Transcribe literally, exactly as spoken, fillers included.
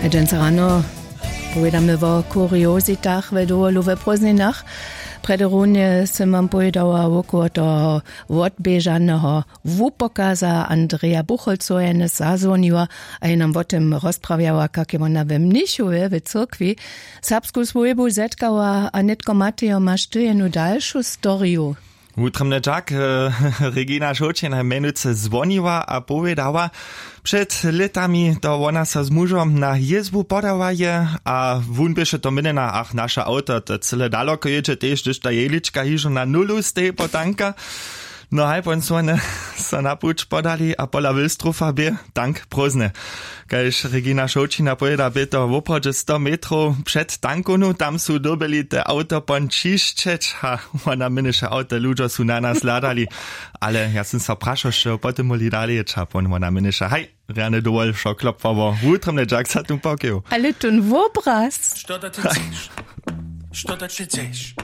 Dźensa rano powědamy wo kuriozitach we dowolu we prózdninach. Prjedy runje sym wam powědała wokoło toho wotběžaneho wupokaza. Andreja Buchholcowa je nas zazwoniła a je nam wo tym rozprawjała, kak je wona we mnichowje w cyrkwi serbsku swójbu zetkała a nětko matejo maš ty jenu dalšu storiju. Wutrobnje dźak. Regina šołćina mjenujcy zwoniła a powědała, před lětami to wona so z mužom na jězbu podała je a wón běše to měnjena, ach, naše awto to cyle daloko jědźe tež hdyž ta jejlička hižo na nulu steji potanka. No haj pon słone so na puć podali a pola wilstrofa bě tank prózdne. Kaž regina šołćina powěda bě to woprawdźe sto metrow před tankownu tam su dyrbjeli te awto pon ćišćeć a wona měnješe awto ludźo su na nas hladali. Ale ja sym so prašał što potom móhli dalej jěć a pon wona měnješe haj, rjany dowol wšo klopłało wutrobnje dźak za tym pokeju. Ale tón wobraz što to ty chceš? Što to ty chceš?